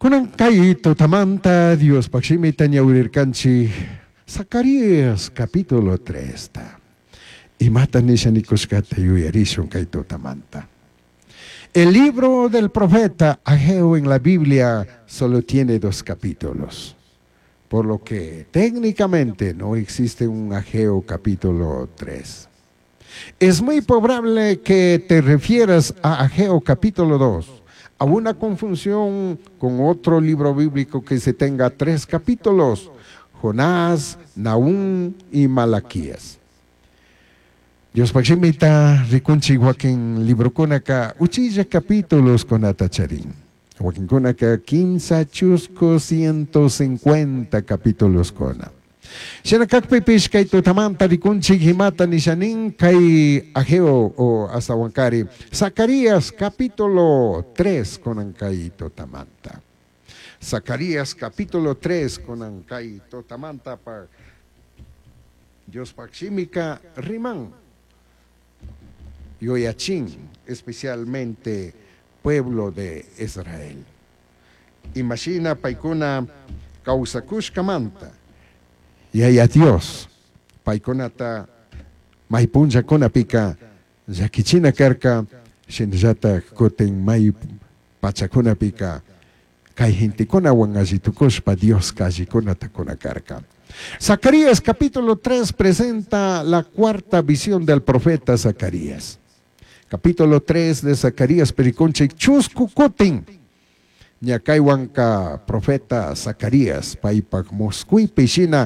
Kunan kay tutamanta Diospaq shimita ñawirirkanchik Zacarías capítulo 3 ta. Imata nisha nikushkata yuyarishun kay tutamanta. El libro del profeta Ageo en la Biblia solo tiene dos capítulos, por lo que técnicamente no existe un Ageo capítulo 3. Es muy probable que te refieras a Ageo capítulo 2, a una confusión con otro libro bíblico que se tenga tres capítulos, Jonás, Nahum y Malaquías. Diospaj shimita rikunchik wakin librokunaka uchilla capítulos kunata charin. Wakinkunaka kimsa chusku 150 capítulos kuna. Shina kakpipish kay tutamanta rikunchik imata nishanin kay Ageo o astawankari Zacarías capítulo 3 kunan kay tutamanta. Zacarías capítulo 3 kunan kay tutamanta pa Diospaj shimika riman yuyachin, especialmente pueblo de Israel. Imashina paikuna kawsakushkamanta Yaya Dios paikunata may punllakunapika llakichina karka shinallatak kutin may pachakunapika kay gentekunawan alli tukushpa Dioska allikunata kuna karka. Zacarías capítulo 3 presenta la cuarta visión del profeta Zacarías. Capítulo 3 de Zacarías rikunchik chusku kutin. Ña kaywanka profeta Zacarías paypak muskuipi shina.